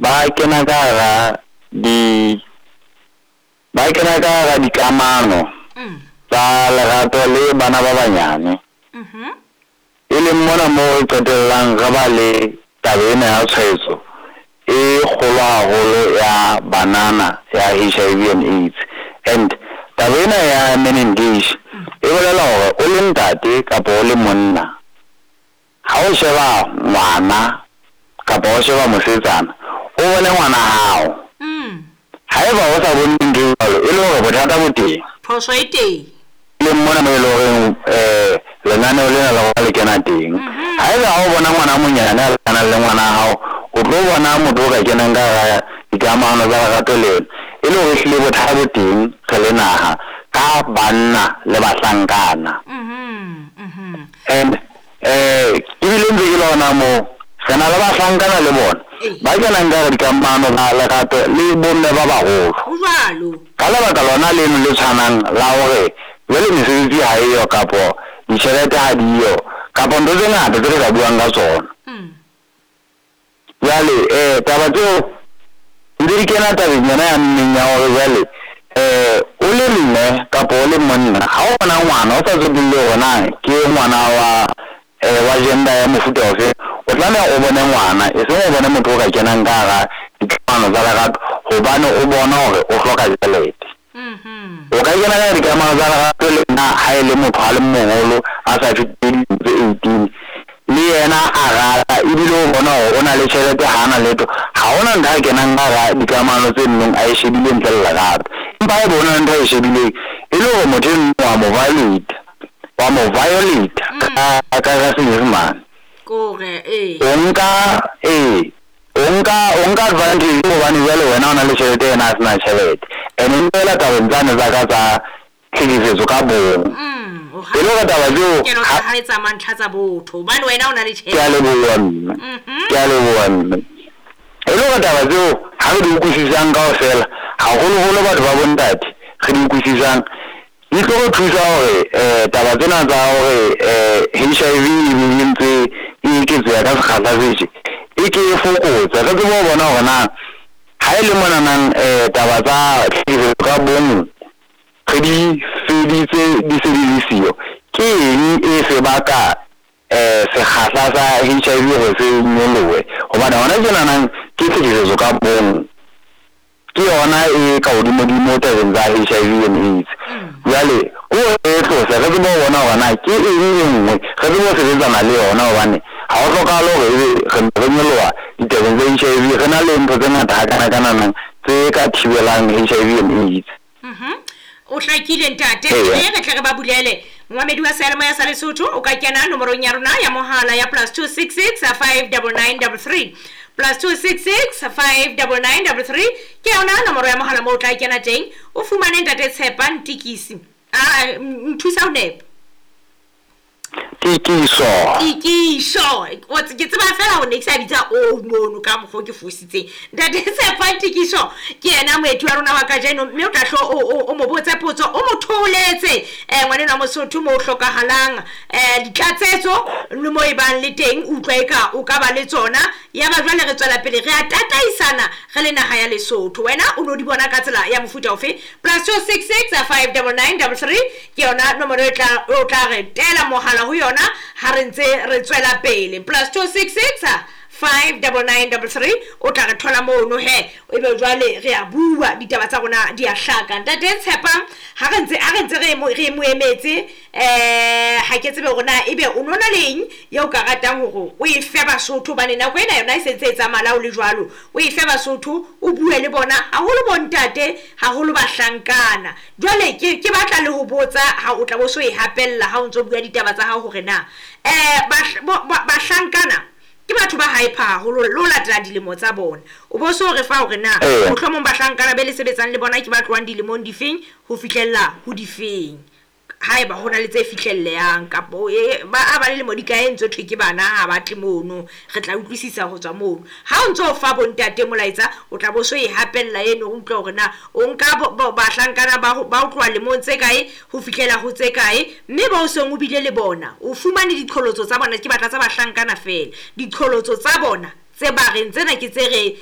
ba kena ka hara di ba kena ka hara dikamano tsa lerato le bana ba banyane. E leng mona moo re qetellang re ba le taba ena ya tshwaetso e kgolo haholo ya banana ya HIV and AIDS. And taba ena ya men engage e bolela hore o le ntate kapa o le monna, ha o sheba ngwana kapa o sheba mosetsana, o bone ngwana hao. Haeba o sa bone ntho e jwalo, e le hore bothata bo teng. Phoso e teng. Leng mona mo e le horeng lenaneo lena la rona le kena teng. Haeba ha o bona ngwana a monyane a lekanang le ngwana hao, o tlo bona motho o ka kenang ka hara dikamano tsa lerato le ena, e le hore ehlile bothata bo teng re le naha ka banna le bahlankana. And ebile ntse ke le hona moo, re na le bahlankana le bona ba kenang ka hara dikamano tsa lerato le bomme ba baholo. Ho jwalo. Ka lebaka lona leno le tshwanang la hore jwale mesebetsi ha eyo kapo ditjhelete ha diyo kapo ntho tse ngata tse re ka buang ka tsona. Jwale taba tseo ntse di kena tabeng yona ya mmeng ya hore jwale o le mme kapa o le monna, ha o bona ngwana o sa tsotelle hore na ke ngwana wa gender ya mofuta ofe, o tlameha o bone ngwana, e seng o bone motho o ka kenang ka hara dikamano tsa lerato hobane o bona hore o hloka tjhelete. O ka kena ka dikamano tsa lerato le nna ha e le motho a le moholo a sa fetile dilemo tse 18, le yena a rata ebile o bona hore o na le tjhelete, ha ana letho, ha hona ntho a kenang ka hara dikamano tse nnong a e shebile ntle le lerato. Empa haeba ho na le ntho a e shebileng, e le hore motho eno wa mo violate, wa mo violate ka Senyesemane. Kore ee. O nka o nka advantage hobane jwale wena o na le tjhelete, yena a sena tjhelete. And e ntse tabeng tsane tsa ka tsa tlhekefetso ka bong. E le hore taba tseo Kelo tsa hae tsa mantlha tsa botho hobane wena o na le Ke a tjhelete. leboha mme. Ke a leboha mme. E le hore taba tseo ha re di utlwisisang kaofela, haholoholo batho ba bontate re di utlwisisang, di tlo re thusa hore taba tsena tsa hore HIV e ntse e eketseha ka sekgahla se tje, e ke e fokotse. Re tsebe ho bona hore na ha e le monanang taba tsa tlhekefetso ka bong re di feditse di se di le siyo, ke eng e se baka sekgahla sa HIV hore se nyolohe? Hobane hona tjenanang ke tlhekefetso ka bong ke yona e ka hodimodimo tabeng tsa HIV and AIDS. Jwale ko e tlose re tsebe ho bona hore na ke eng e nngwe re tsebe ho sebetsana le yona, hobane ha ho hlokahale hore ebe re nyoloha ditabeng tsa HIV, re na le ntho tse ngata hakana-kananang tse ka thibelang HIV and AIDS. O hlakile ntate, re tle re ba bulele. Momamedi wa seyalemoya sa Lesotho o ka kena nomorong ya rona ya mohala ya +266 59933, +266 59933 ke yona nomoro ya mohala moo o tla kena teng, o fumane ntate Tshepa Ntikisi. A nthusa ho nepa. Tikiso. Tikiso. Ke tseba fela hore ne ke sa bitsa o mono ka mokgwa ke fositseng. Ntate Tshepa Tikiso ke yena moeti wa rona wa kajeno, mme o tla hlo o mo botse potso, o mo thoholetse ngwaneno wa Mosotho mo hlokahalang ditlatsetso le mo e bang le teng, utlwa eka o ka ba le tsona. Ya ba jwale re tswela pele re a tataisana re le naha ya Lesotho. Wena o no di bona ka tsela ya mofuta ofe? +266 59933 ke yona nomoro e tla o tla re tela mohala ho yona ha re ntse re tswela pele. +266 59933 o tla re thola mono he, ebe jwale re a bua ditaba tsa rona di a hlaka. Ntate Tshepa, ha re ntse re mo emetse, ha ke tsebe hore na ebe o nona leng eo ka ratang hore o e fe Basotho, hobane nako ena yona e sentse e tsamaya o le jwalo, o e fe Basotho, o bue le bona haholo bontate, haholo bahlankana. Jwale ke batla le ho botsa ha o tla bo so e hapella ha o ntso bua ditaba tsa hao hore na bahlankana ke batho ba hyper haholo le ho latela dilemo tsa bona. O bo so re fa hore na mohlomong bahlankana be le sebetsang le bona ke ba tlohang dilemong difeng ho fihlella ho difeng, haeba ho na le tse fihlellehang kapo ba a ba le lemo di kae ntse thwe ke bana ha ba tle mono, re tla utlwisisa ho tswa mono. Ha o ntso fa bontate molaetsa, o tla bo so e hapella eno, o utlwe hore na o nka bahlankana ba ho tloha lemong tse kae ho fihlela ho tse kae, mme ba o seng o bile le bona o fumane diqholotso tsa bona. Ke batla tsa bahlankana fela, diqholotso tsa bona tse ba reng tsena ke tse re